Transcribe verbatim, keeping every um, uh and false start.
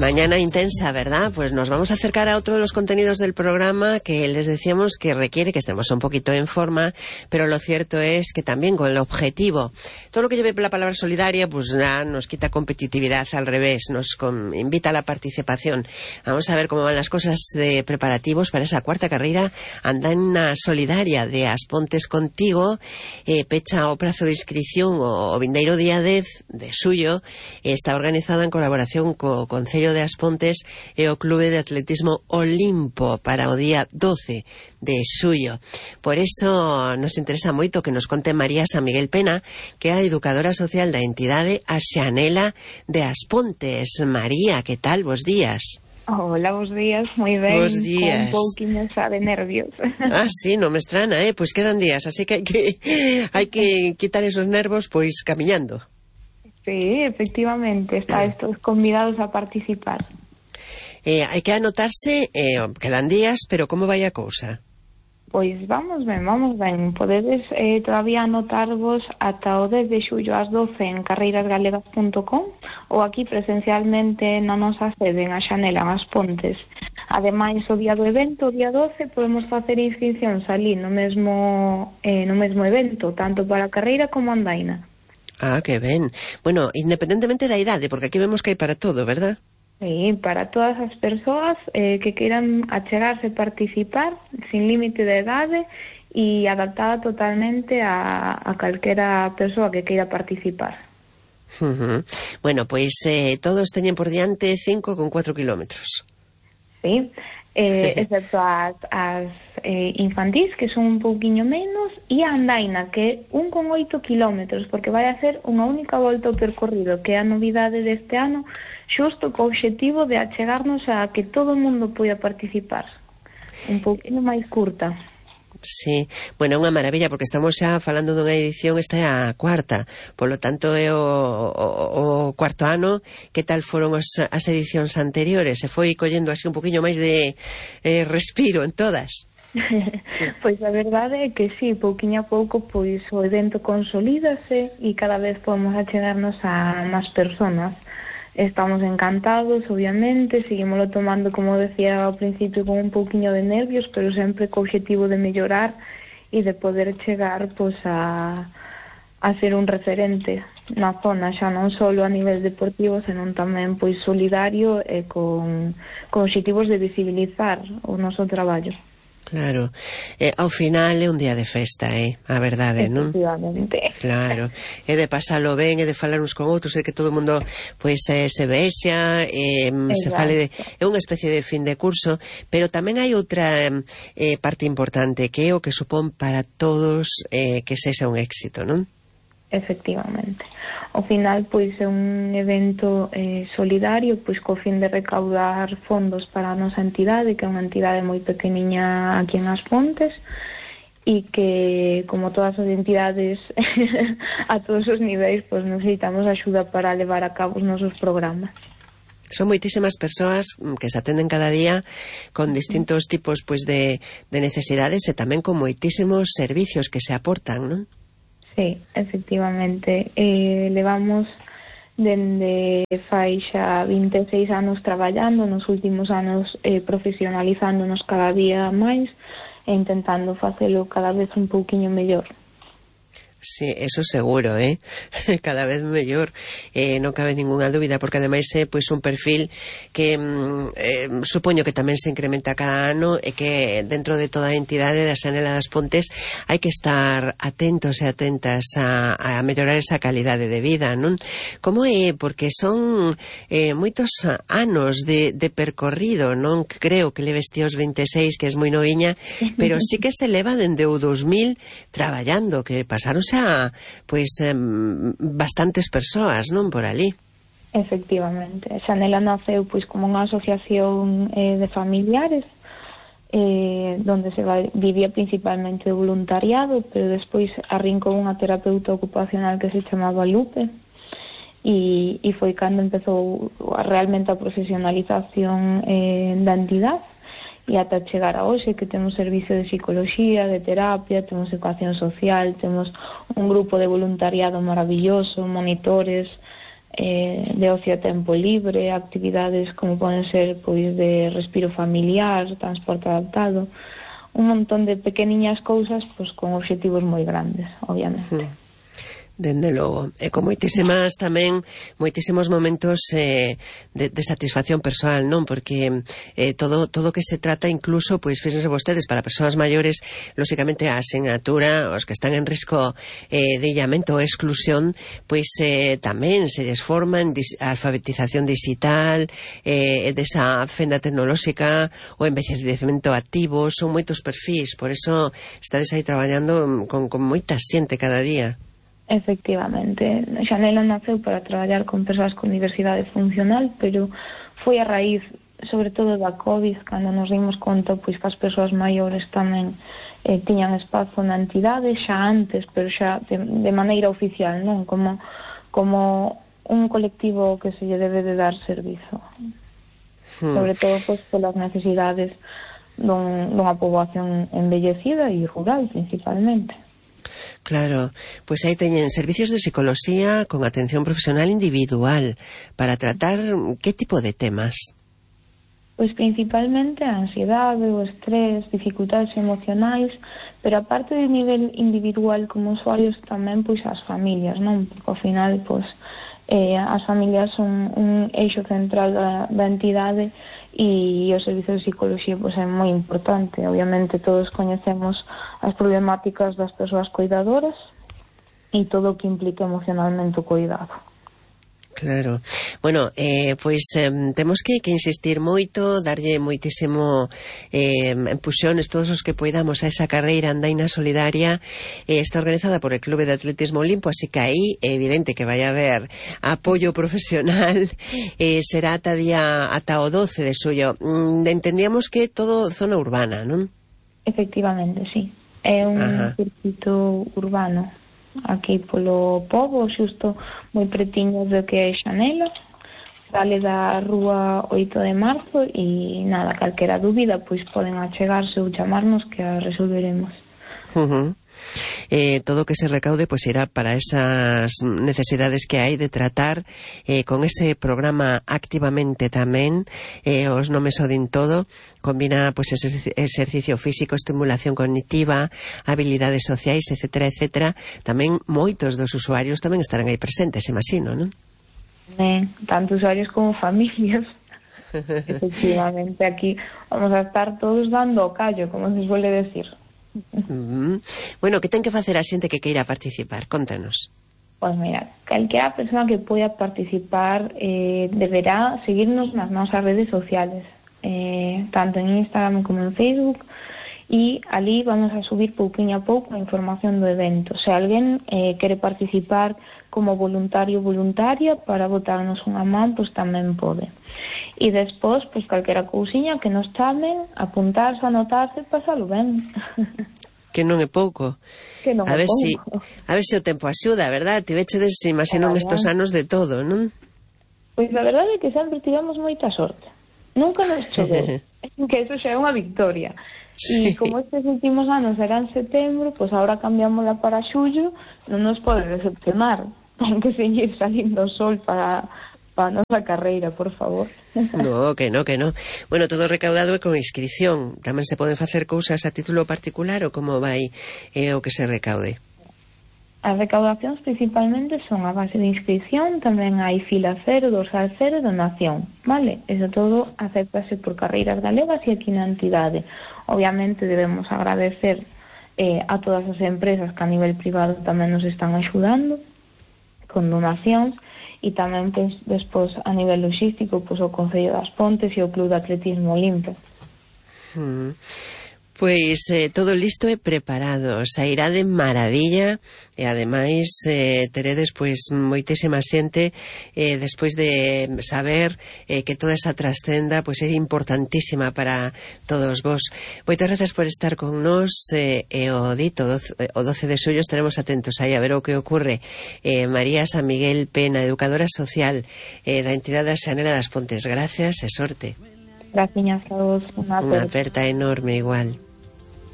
Mañana intensa, ¿verdad? Pues nos vamos a acercar a otro de los contenidos del programa que les decíamos que requiere que estemos un poquito en forma, pero lo cierto es que también con el objetivo. Todo lo que lleve la palabra solidaria, pues nada, nos quita competitividad, al revés, nos con, invita a la participación. Vamos a ver cómo van las cosas de preparativos para esa cuarta carrera Andaina Solidaria de As Pontes Contigo, eh, pecha o prazo de inscripción o, o vindeiro día dez de suyo, eh, está organizada en colaboración co Concello de As Pontes e o Clube de Atletismo Olimpo para o día doce de suyo. Por eso nos interesa moito que nos conte María San Miguel Pena, que é a educadora social da entidade A Xanela de As Pontes. María, que tal? Bos días. Hola, bos días, moi ben. Bos días. Con un pouquinho xa de nervios. Ah, sí, non me estrana, eh? Pois quedan días, así que hai que hai que quitar esos nervos pois camiñando. Sí, efectivamente, estáis todos convidados a participar. Eh, hai que anotarse, eh, quedan días, pero como vai a cousa? Pois vamos ben, vamos ben. Podedes eh, todavía anotarvos ata o dez de xullo ás doce en carreiras galegas punto com ou aquí presencialmente na nosa sede en A Xanela, en As Pontes. Ademais, o día do evento, o día doce, podemos facer inscripcións ali no mesmo, eh, no mesmo evento, tanto para a carreira como a andaina. Ah, que ben. Bueno, independentemente da idade, porque aquí vemos que hai para todo, verdad? Sí, para todas as persoas eh, que queiran achegarse, participar, sin límite de idade e adaptada totalmente a, a calquera persoa que queira participar. Uh-huh. Bueno, pois eh, todos teñen por diante cinco con cuatro kilómetros. Sí, eh, excepto as, as eh, infantís, que son un pouquiño menos, e a andaina, que é un con oito kilómetros, porque vai a ser unha única volta ao percorrido, que é a novidade deste ano, xusto co obxectivo de achegarnos a que todo o mundo poida participar. Un pouquinho máis curta. Sí, bueno, é unha maravilla, porque estamos xa falando dunha edición, esta é a cuarta, polo tanto é o, o, o cuarto ano. Que tal foron os, as edicións anteriores? Se foi collendo así un poquinho máis de eh, respiro en todas? Pois a verdade é que sí, pouquiño a pouco pois o evento consolídase e cada vez podemos achegarnos a máis personas. Estamos encantados, obviamente, seguimoslo tomando, como decía ao principio, con un pouquiño de nervios, pero sempre co objetivo de mellorar e de poder chegar pois a, a ser un referente na zona, xa non só a nivel deportivo, senón tamén pois solidario e con, con obxectivos de visibilizar o noso traballo. Claro, eh, ao final é un día de festa, eh? A verdade, non? Efectivamente. Claro, é de pasalo ben, é de falar uns con outros, é que todo o mundo pois eh, se vexa, eh, se fale de, é unha especie de fin de curso, pero tamén hai outra eh, parte importante, que é o que supón para todos eh, que sexa un éxito, non? Efectivamente. Ao final, pois, é un evento eh, solidario, pois, co fin de recaudar fondos para a nosa entidade, que é unha entidade moi pequeniña aquí en As Pontes, e que, como todas as entidades a todos os niveis, pois, necesitamos axuda para levar a cabo os nosos programas. Son moitísimas persoas que se atenden cada día con distintos tipos pois de, de necesidades e tamén con moitísimos servicios que se aportan, non? Sí, efectivamente. Eh, levamos dende fai xa vinte e seis anos traballando, nos últimos anos eh, profesionalizándonos cada día máis e intentando facelo cada vez un pouquiño mellor. Sí, eso seguro, eh? Cada vez mellor, eh, non cabe ninguna dúbida, porque ademais é pois un perfil que eh, supoño que tamén se incrementa cada ano e que dentro de toda a entidade da Xanela das Pontes hai que estar atentos e atentas a, a mellorar esa calidade de vida, non? Como é? Porque son eh, moitos anos de, de percorrido, non creo que leves ti os vinte e seis, que es moi noviña, pero sí que se leva dende o dos mil traballando, que pasaron xa, pois, eh, bastantes persoas, non, por ali. Efectivamente. Xanela naceu, pois, como unha asociación eh, de familiares, eh, donde se va, vivía principalmente o voluntariado, pero despois arrincou unha terapeuta ocupacional que se chamaba Lupe, e, e foi cando empezou realmente a profesionalización eh, da entidade. E ata chegar a hoxe, que temos servicio de psicología, de terapia, temos educación social, temos un grupo de voluntariado maravilloso, monitores, eh, de ocio a tempo libre, actividades como poden ser pois de respiro familiar, transporte adaptado, un montón de pequeniñas cousas pois con obxectivos moi grandes, obviamente. Mm. Dende logo, e con moitísimas tamén, moitísimos momentos eh, de, de satisfacción persoal, non? Porque eh, todo todo que se trata, incluso, pois fíxense vostedes, para persoas maiores, lóxicamente a asignatura, os que están en risco eh, de illamento ou exclusión, pois eh, tamén se les forma en dis, alfabetización digital, eh, desa fenda tecnolóxica, o envellecemento activo, son moitos perfis, por eso estades aí traballando con, con moita xente cada día. Efectivamente, Xanela naceu para traballar con persoas con diversidade funcional, pero foi a raíz, sobre todo da COVID, cando nos dimos conta pois que as persoas maiores tamén eh, tiñan espazo na entidade xa antes, pero xa de, de maneira oficial, non? Como, como un colectivo que se lle debe de dar servizo. Hmm. Sobre todo pois polas necesidades dun, dunha poboación envellecida e rural, principalmente. Claro, pois aí teñen servicios de psicología con atención profesional individual para tratar que tipo de temas? Pois principalmente a ansiedade, o estrés, dificultades emocionais, pero aparte de nivel individual como usuarios tamén pois as familias, non? Porque ao final pois eh, as familias son un eixo central da, da entidade e o servicio de psicología pois é moi importante. Obviamente todos coñecemos as problemáticas das persoas cuidadoras e todo o que implica emocionalmente o cuidado. Claro. Bueno, eh, pois eh, temos que, que insistir moito, darlle moitísimo eh, empuxones todos os que poidamos a esa carreira andaina solidaria. Eh, está organizada por el Clube de Atletismo Olimpo, así que aí é evidente que vai haber apoio profesional. Eh, será ata día ata o doce de xullo. Mm, entendíamos que todo zona urbana, non? Efectivamente, sí. É un Ajá. circuito urbano. Aquí polo pobo, xusto moi pretiño do que é Xanela, sale da rúa oito de marzo e nada, calquera dúbida pois poden achegarse ou chamarnos que a resolveremos. Uh-huh. Eh, todo o que se recaude pois irá para esas necesidades que hai de tratar eh, con ese programa activamente tamén, eh, os nomes o din todo, combina pois exercicio físico, estimulación cognitiva, habilidades sociais, etcétera, etcétera. Tamén moitos dos usuarios tamén estarán aí presentes, imagino, non? Ben, tanto usuarios como familias. Efectivamente, aquí vamos a estar todos dando o callo, como se suele decir. Mm. Bueno, que ten que facer a xente que queira participar? Contanos. Pois mira, calquera persona que poida participar eh, deberá seguirnos nas nosas redes sociales, eh, tanto en Instagram como en Facebook, e ali vamos a subir pouquinho a pouco a información do evento. Se alguén eh, quere participar como voluntario ou voluntaria para botarnos unha man, pois tamén pode. E despois, pois calquera cousiña que nos chamen, apuntarse, anotarse, pasalo ben. Que non é pouco. Que non a é ver pouco. Si, a ver se o tempo axuda, verdad? Tivechedes, imagino, nestos anos de todo, non? Pois a verdade é que sempre tivemos moita sorte. Nunca nos choveu. Que eso xa é unha victoria. E sí. Como estes últimos anos eran setembro, pois agora cambiámosla para xullo, non nos pode decepcionar. Ten que seguir salindo o sol para, para a nosa carreira, por favor. No, que no, que no. Bueno, todo recaudado é con inscripción. Tamén se poden facer cousas a título particular ou como vai eh, o que se recaude? As recaudacións principalmente son a base de inscripción, tamén hai fila cero, dorsal cero e donación, vale? Eso todo acéptase por carreiras galegas e aquí na entidade. Obviamente debemos agradecer eh, a todas as empresas que a nivel privado tamén nos están axudando con donacións e tamén pues, despois a nivel logístico pues, o Concello das Pontes e o Club de Atletismo Olimpo. Hmm. Pois eh, todo listo e preparado, sairá de maravilla e ademais eh, teredes pois moitísima xente eh, despois de saber eh, que toda esa trascenda pois é importantísima para todos vos. Moitas grazas por estar con nós eh, e o dito o doce de xullo estaremos atentos aí a ver o que ocorre. eh, María San Miguel Pena, educadora social eh, da entidade Xanela das Pontes, gracias e sorte. Gracias a vos, unha aperta. Unha aperta enorme igual.